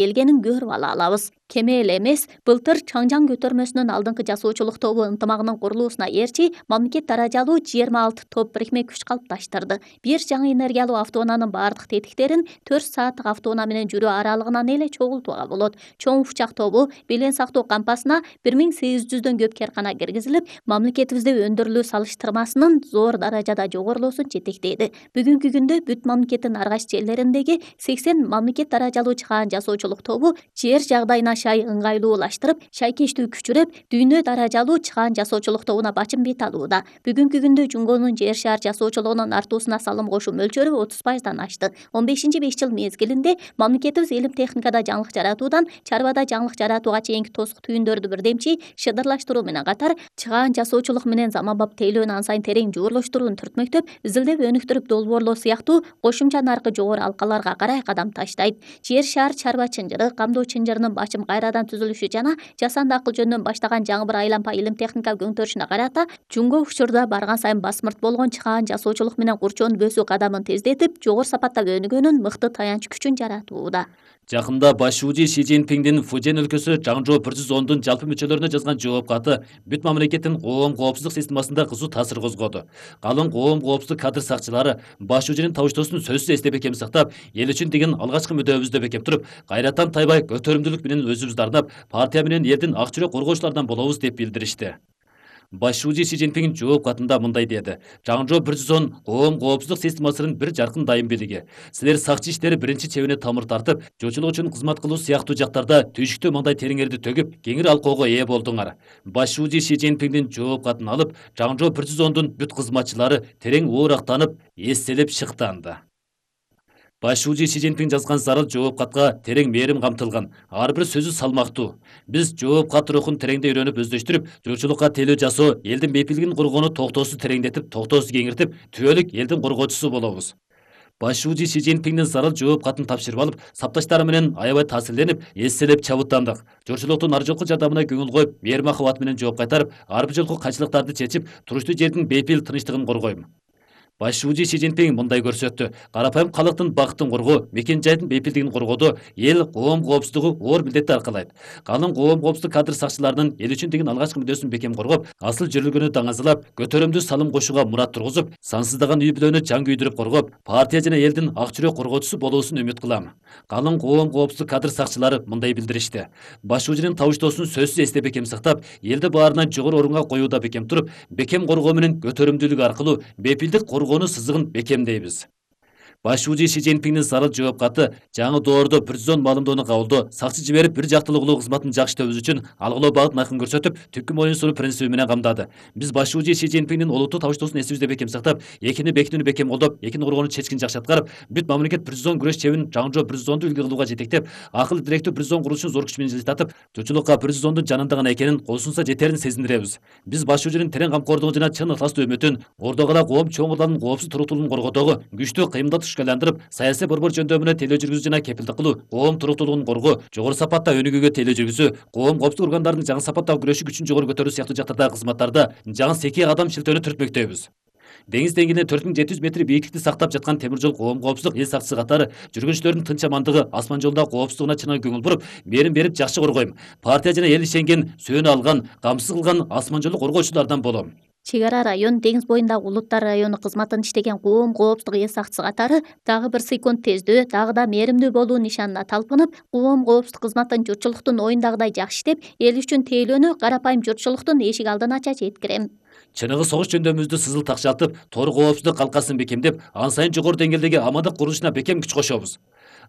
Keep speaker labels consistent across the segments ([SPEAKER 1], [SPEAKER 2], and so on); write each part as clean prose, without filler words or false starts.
[SPEAKER 1] келгенин көрүп ала алабыз. Кеме эле эмес, былтыр Чаңжаң көтөрмөсүнүн алдыңкы жасоочулук тобу ынтымагынын курулуусуна эрчи мамлекет даражалуу 26 топ бирикме күч калыпташтырды. Бир жаңы энергиялуу автоунаанын бардык тетиктерин 4 сааттык автоунаа менен жүрүү аралыгынан эле чогултууга болот. Чоң учак тобу белең сактоо кампасына 1800дөн көп керкана киргизилип, мамлекетибизде өндүрүлүү салыштырмасынын зор даражада жогорулуусун жетектейди. Бүгүнкү күндө бүт мамлекеттин ар кайсы жерлериндеги 80 мамлекет даражалуу чыгаан жасоочулук тобу жер жагдайына шай ыңгайлуулаштырып, шайкештүү күчүрөп, дүйнө даражалуу чыгаан жасоочулук тобуна бачым бет алууда. Бүгүнкү күндө Жунгонун жер шаар жасоочулугунун артуусуна салым кошуу мөлчөрү 30%дан ашты. 15-5 жыл мезгилинде мамлекетибиз илим техникада жаңылык жаратуудан чарбада жаңылык жаратууга чейинки тосук түйүндөрдү бирдемчи шыдырлаштыруу менен катар, чыгаан жасоочулук менен заманбап тейлөөнү ан сайын терең жуурлаштырууну түртмөктөп, изилдеп өнүктүрүп долбоорлоо сыяктуу кошумча наркы жогору алкаларга карай кадам таштайт. Жер шаар чарба чынжыры, камдоо чынжырынын бачым кайрадан түзүлүшү жана жасанды акыл жөнүнөн баштаган жаңы бир айланпа илим техника көңтөрүшүнө карата Жунго учурда барган сайын басмырт болгон чыгаан жасоочулук менен курчоонду бөсүү кадамын тездетип, жогору сапаттап өнүгөнүн мыкты таянч күчүн жаратууда.
[SPEAKER 2] Жакында баш шүүжи Си Цзиньпиңдин Фужен өлкөсү Чаңжоо 110дун жалпы мүчөлөрүнө жазган жооп каты бүт мамлекеттин коом коопсуздук системасында кызуу таасир козгоду. Калың коом коопсуздук кадр сакчылары баш шүүжүнүн табыштоосун сөзсүз эсте бекем сактап, эл үчүн деген алгачкы мүдөөбүздө бекем туруп, кайраттан тайбай көтөрүмдүүлүк менен өзүбүздү арнап, партия менен элдин ак жүрөк коргоочулардан болобуз деп билдиришти. Баш шүүжи Си Цзиньпиң жооп катында мындай деди: Чаңжоо 110 коом коопсуздук системасынын бир жаркын дайым бийлиги. Силер сакчы иштери биринчи чебине тамыр тартып, жочулук үчүн кызмат кылуу сыяктуу жактарда түйшүктүү мындай териңерди төгүп, кеңири алкоого ээ болдуңар. Баш шүүжи Си Цзиньпиңдин жооп катын алып, Чаңжоо 110дун бүт кызматчылары терең оорактанып, эстелеп шыктанды. Баш шүүжи Си Цзиньпиң жазган зарыл жооп катка терең мээрим камтылган. Ар бир сөзү салмактуу. Биз жооп кат рухун тереңдей үйрөнүп өздөштүрүп, журчулукка тейлөө жасоо, элдин бейпилдигин коргоону токтоосуз тереңдетип, токтоосуз кеңиртип, түбөлүк элдин коргоочусу болобуз. Баш шүүжи Си Цзиньпиңдин зарыл жооп катын тапшырып алып, сапташтары менен аябай таасирленип, эстелеп чабыттандык. Журчулуктун ар жолку жардамына көңүл коюп, мээрим махабат менен жооп кайтарып, ар бир жолку кайчылыктарды чечип, туруштуу жердин бейпил тынчтыгын коргойм. Баш шүүжи Си Цзиньпиң мындай көрсөттү: карапайым калктын бакытын коргоо, мекен жайдын бейпилдигин коргоодо эл коом коопсуздугу оор милдетти аркалайт. Калың коом коопсуздук кадр сакчыларынын эл үчүн деген алгачкы мүдөөсүн бекем коргоп, асыл жүрүлгөнү даңазалап, көтөрүмдүү салым кошууга мурат тургузуп, сансыздаган үй бүлөнү жан күйдүрүп коргоп, партия жана элдин ак жүрөк коргоочусу болуусун үмүт кылам. Калың коом коопсуздук кадр сакчылары мындай билдиришти: баш шүүжүнүн табыштоосун сөзсүз эсте бекем сактап, элди баарынан жогору орунга коюуда бекем туруп, бекем коргоо менен көтөрүмдүүлүк аркылуу бейпилдик коргоонун сызыгын бекемдейбиз. Баш шүүжи Си Цзиньпиңдин зарыл жооп каты жаңы доордо 110 маалымдоону кабылдоо, сакчы жиберип бир жактылуу кылуу кызматын жакшы иштөөбүз үчүн алгылоо багытын айкын көрсөтүп, түпкү моюн сунуу принциби менен камдады. Биз баш шүүжи Си Цзиньпиңдин олуттуу табыштоосун эсибизде бекем сактап, экини бекитүүнү бекем колдоп, экини коргоону чечкин жакшы аткарып, бүт мамлекет 110 күрөш чебин Чаңжоо 110ду үлгү кылууга жетектеп, акыл тиректүү 110 курулушун зор күч менен жылдатып, журчулукка 110дун жанында гана экенин кол сунса жетерин сезиндиребиз. Биз баш шүүжүнүн терең камкордугун жана чын ыхластуу үмүтүн, ордого эле коом чоңурларынын коопсуз туруктуулугун коргоодогу күчтүү кыймылды түшкө айландырып, саясий борбор жөндөмүнө тейлөө жүргүзүү жана кепилдик кылуу, коом туруктуулугун коргоо, жогору сапатта өнүгүүгө тейлөө жүргүзүү, коом коопсуздук органдарынын жаңы сапаттагы күрөшүү күчүн жогору көтөрүү сыяктуу жактардагы кызматтарда жаңы секий кадам шилтөөнү түртмөктөйбүз. Деңиз деңгээлинен 4700 метр бийиктикти сактап жаткан темир жол коом коопсуздук эл сакчысы катары жүргүнчүлөрдүн тынч амандыгы, асман жолдогу коопсуздугуна чыныгы көңүл буруп, мээрим берип жакшы коргойм. Партия жана эл ишенген, сөөнү алган, камсыз кылган асман жолу коргоочулардан болом.
[SPEAKER 1] Чек ара район, деңиз боюндагы Улуттар району кызматын иштеген коом коопсуздук эл сакчысы катары дагы бир секунд тездөө, дагы да мээримдүү болуу нишанына талпынып, коом коопсуздук кызматын журтчулуктун оюндагыдай жакшы иштеп, эл үчүн тейлөөнү карапайым журтчулуктун эшик алдын ача жеткирем.
[SPEAKER 2] Чыныгы согуш жөндөмүбүздү сызыл такшалтып, тор коопсуздук калкасын бекемдеп, ан сайын жогору деңгээлдеги амандык курулушуна бекем күч кошобуз.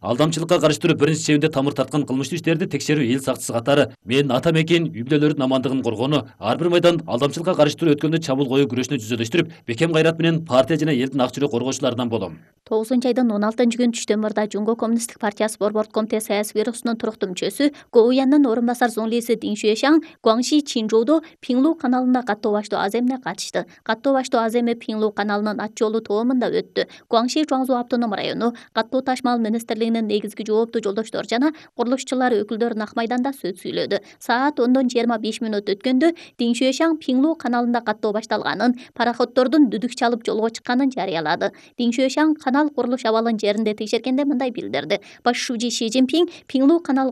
[SPEAKER 2] Алдамчылыкка каршы биринчи чебинде тамыр тарткан кылмыштуу иштерди текшерүү эл сакчысы катары мен ата мекен үй бүлөлөрдүн амандыгын коргоону, ар бир майдан алдамчылыкка каршы өткөндө чабуул коюу күрөшүнө жүзөлөштүрүп, бекем кайрат менен партия жана элдин ак жүрөк коргоочуларынан болом.
[SPEAKER 1] 9-айдын 16-күнү Түштөмүрдө Жунго коммунисттик партиясы борбордук комитет саясий бюросунун туруктуу мүчөсү, Гоуяндын орун басар зонлиси Дин Шуэшаң Гуаңши Чинжоудо Пиңлу каналында каттоо баштоо аземине катышты. Каттоо баштоо аземи Пиңлу каналынын ат жолу тоомунда өттү. Гуаңши Жуаңзу автоном району каттоо ташмал министрлигинин Кытайнын негизги жооптуу жолдоштору жана курулушчулар өкүлдөрү Ак майданда сөз сүйлөдү. Саат 10:25 өткөндө Диңшуэшаң Пиңлу каналында каттоо башталганын, пароходдордун дүдүк чалып жолго чыкканын жарыялады. Диңшуэшаң канал курулуш абалын жеринде текшергенде мындай билдирди. Баш шүүжи Си Цзиньпин Пиңлу канал